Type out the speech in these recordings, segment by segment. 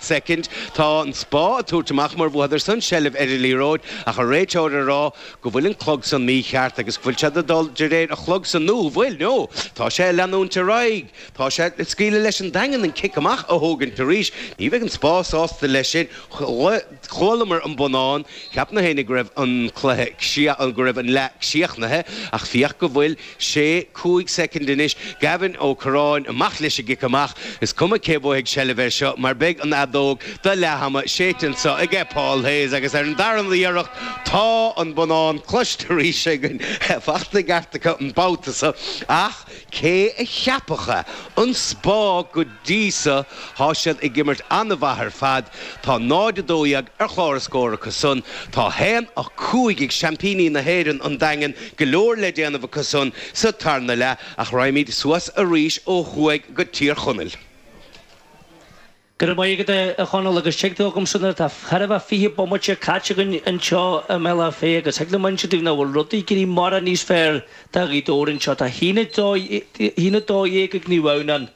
soicind. Tá an Spá ag tabhairt amach mar bhuadar san seilbh ar an liathróid ach an réiteoir ag rá go bhfuil an clog san mícheart agus go bhfuil siad ag dul de réir an chlog san nó bhfuil? No! Tá sé ag leanúint ar aghaidh. Tá sé ag scaoileadh leis an Daingean an cic amach a thógaint arís. Ní bheidh an Spá sásta leis sin. Chualamar an bonnán. Cheap na héinne go raibh an cluiche, go raibh an leath críochnaithe ach féach go bhfuil sé, 5 soicind anois. Gavin Ó Curráin amach leis an gcic amach. Is cuma cé bhuafaidh seilbh air seo mar beidh an fheadóg do leath ama séidte anseo aige Paul Hayes agus ar an darna iarracht tá an bonnán cloiste arís againn. Faighte i gceart acu an babhta seo ach cé a cheapfadh é? An Spá go dtí so tá siad ag imirt an-mhaith ar fad. Tá 0-12 ar chlár a scór acu san. Tá 1-5 ag seaimpíní na hÉireann, an Daingean, go leor le déanamh acu san sa tarna leath ach raghaimid suas arís ó thuaidh go Tír Chonaill. Go raibh maith agat a Chonaill agus tig liomsa nuair atá chóir a bheith 20 bomaite caite againn anseo i mBealach Féich agus thig liom inse daoibh nach bhfuil rudaí ag éirí mórán níos fearr do Ghaoth Dobhair anseo. Tá 1-12 ag Naomh Adhamhnáin,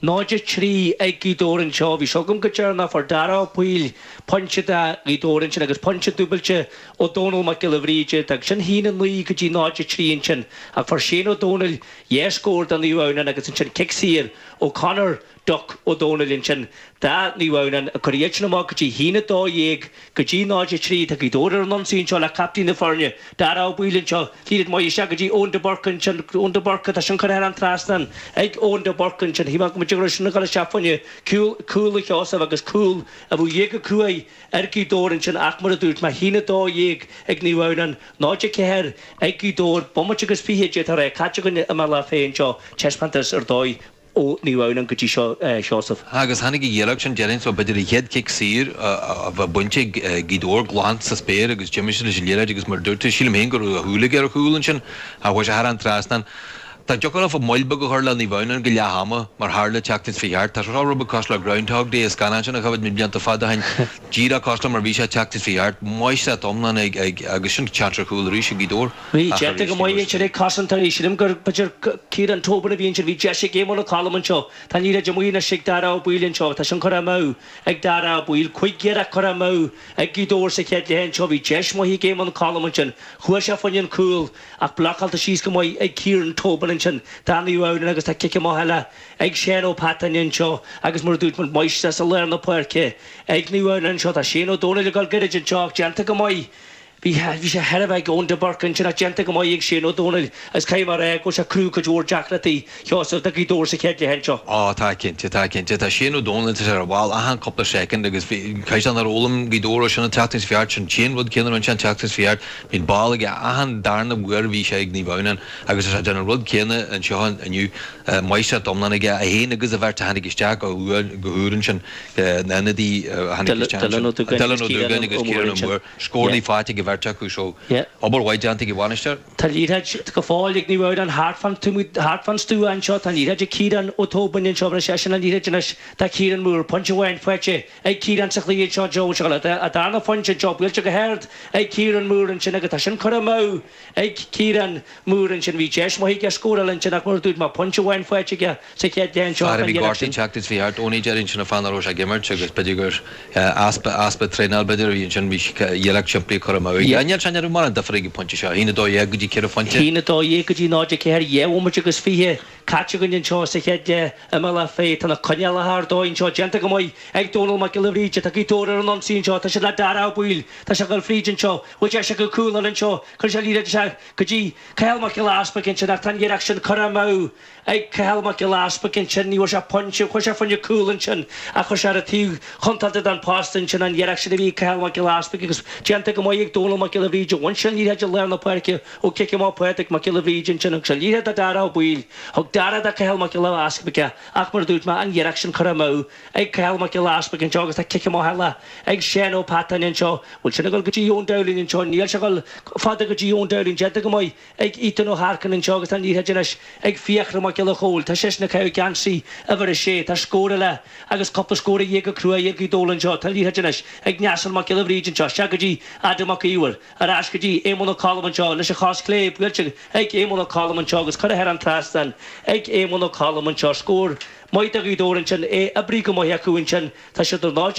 0-3 ag Gaoth Dobhair anseo. Bhí seo agam go deireanach, fuair Dara Ó Baoill pointe do Ghaoth Dobhair ansin agus pointe dúbailte ó Dónal Mac Giolla Bhríde. D'fhág sin 1-9 go dtí 0-3 ansin ach fuair Shane Ó Dónaill dhá scór do Naomh Adhamhnáin agus ansin cic saor ó Conor Duck Ó Dónaill ansin do Naomh Adhamhnáin ag cur iad sin amach go dtí 1-12 go dtí 0-3. Tá Gaoth Dobhair ar an ionsaí anseo le captaen na foirne, Dara Ó Baoill anseo. Liathróid maith isteach go dtí Eoin de Burca ansin. Eoin de Burca, tá sin curtha thar an trasnán ag Eoin de Burca ansin. Shíl mé go mb'fhéidir go raibh sin ag dul isteach fá choinne cúl, cúl a Sheosaimh agus cúl a bheadh íoctha cruaidh ar Ghaoth Dobhair ansin ach mar a dúirt mé, 1-12 ag Naomh Adhamhnáin, 0-4 ag Gaoth Dobhair. Bomaite agus 20 d'fhéadfá a rá caite againn i mBealach Féich anseo. Taispeántas ar dóigh. ó Naomh Adhamhnáin go dtí seo, Seosamh. Agus tháinig an iarracht sin, déarfainn, so b'fhéidir an chéad chic saor a bheith bainte ag Gaoth Dobhair glan sa spéir agus d'imigh sé leis an liathróid agus mar a dúirt tú, sílim féin go raibh a shúil aige ar chúl ansin ach chuaigh sé thar an trasnán. Dá dtiocfadh leofa moill beag a chur le Naomh Adhamhnáin go leath ama mar tharla an tseachtain seo thart, tá seo rud beag cosúil le Groundhog Day, an scannán sin a chuimhnigh mé blianta fada ó shin, díreach cosúil le mar a bhí sé an tseachtain seo thart, máistreacht iomlán ag agus sin seans ar chúl arís ag Gaoth Dobhair. Bhí déanta go maith ansin ag cosantóirí. Sílim gur b'fhéidir Ciarán Tobin a bhí ansin. Bhí deis ag Éamonn Ó Colm anseo. Tá an liathróid amuigh anois ag Dara Ó Baoill anseo. Tá sin curtha amú ag Dara Ó Baoill. Cuig iarracht curtha amú ag Gaoth Dobhair sa chéad leath anseo. Bhí deis maith ag Éamonn Ó Colm ansin. Chuaigh sé fá choinne an cúl ach blocáilte síos go maith ag Ciarán Tobin ansin. Do Naomh Adhamhnáin agus tá cic amach eile ag Seán Ó Peatáin anseo agus mar a dúirt muid máistreacht i lár na páirce ag Naomh Adhamhnáin anseo. Tá Shane Ó Dónaill ag dul gairid anseo ach déanta go maith Bhí bhí sé thar a bheith ag Eoin de Burca ansin ach déanta go maith ag Shane Ó Dónaill agus caithfidh mé a rá go bhfuil sé ag cruthú cuid mhór deacrachtaí Sheosamh do Ghaoth Dobhair sa chéad leath anseo. Á tá cinnte, tá cinnte. Tá Shane Ó Dónaill tá sé ar an bhall achan cúpla soicind agus bhí caighdeán ar fhoghlaim Gaoth Dobhair ó sin an tseachtain seo thart, sin an rud céanna a rinne sé an tseachtain seo thart. Bhí an ball aige achan darna uair a bhí sé ag Naomh Adhamhnáin agus tá sé ag déanamh an rud céanna anseo inniu. Máistreacht iomlán aige, é féin agus an bheirt a tháinig isteach go go húr ansin, na hionadaí a tháinig isteach ansin, Dylan Ó Dúgáin Dylan Ó Dúgáin agus Ciarán Ó Mór. Scóranna faighte ag an bheirt acu so obair mhaith déanta ag an bhainisteoir. Tá liathróid go fóill ag Naomh Adhamhnáin thart fán thart fán stua anseo. Tá an liathróid ag Ciarán Ó Tóibín anseo. Rinne seisean an liathróid anois do Chiarán Moore. Pointe amháin faighte ag Ciarán sa chluiche anseo. Joe seo a darna phointe anseo. Buailte go hard ag Ciarán Moore ansin agus tá sin curtha amú ag Ciarán Moore ansin. Bhí deis maith aige scóráil ansin ach mar a dúirt mé, pointe amháin faighte aige sa chéad leath anseo. Fear a bhí gortaithe an tseachtain seo thart, Eoiní déarfainn, sin an fáth nach raibh sé ag imirt agus b'fhéidir gur easpa, easpa traenáil b'fhéidir a bhí ansin, bhí iarracht simplí curtha amú aige. Níl sé, ní raibh mórán difear ag an phointe seo, 1-12 go dtí 4 phointe. 1-12 go dtí 0-4, 2 bhomaite agus 20 caite againn anseo sa chéad leath i mBealach Féich. Tá na coinneálacha ar dóigh anseo déanta go maith ag Dónal Mac Giolla Bhríde. Tá Gaoth Dobhair ar an ionsaí anseo. Tá siad le Dara Ó Baoill. Tá sé ag dul fríd anseo. Bhfuil deis acu cúl eile anseo. Cuireann sé an liathróid isteach go dtí Cathal Mac Giolla Easpaig ansin ach tá an iarracht sin curtha amú ag Cathal Mac Giolla Easpaig ansin. Ní bhfuair sé pointe. Chuaigh sé fá choinne cúl ansin ach chuir sé ar an taobh chontráilte den posta ansin an iarracht sin a bhí ag Cathal Mac Giolla Easpaig agus déanta go maith ag Dónal Mac Giolla Bhríde. Bhain sé an liathróid i lár na páirce ó chic amach Pádraig Mac Giolla Bhríde ansin agus an liathróid do Dara Ó Baoill. Thug Dara do Cathal Mac Giolla Easpaig é ach mar a dúirt mé an iarracht sin curtha amú ag Cathal Mac Giolla Easpaig anseo agus tá cic amach eile ag Seán Ó Peatáin anseo. Bhfuil sin ag dul go dtí Eoin Dowling anseo? Níl sé ag dul fada go dtí Eoin Dowling. Déanta go maith ag Ethan Ó hEarcáin anseo agus tá an liathróid anois ag Fiachra Mac Giolla Chóill. Tá seisean ag caitheamh geansaí uimhir a sé. Tá scór eile agus cúpla scór a dhíth go cruaidh ag Gaoth Dobhair anseo. Tá an liathróid anois ag Neasal Mac Giolla Bhríde anseo. Isteach go dtí Adam Mac Íomhair. Ar ais go dtí Éamonn Ó Colm anseo leis an chos chlé buailte ag Éamonn Ó Colm anseo agus curtha thar an trasnán ag Éamonn Ó Colm anseo. Scór maith do Ghaoth Dobhair ansin. É oibrithe go maith acu ansin. Tá siad ar 0.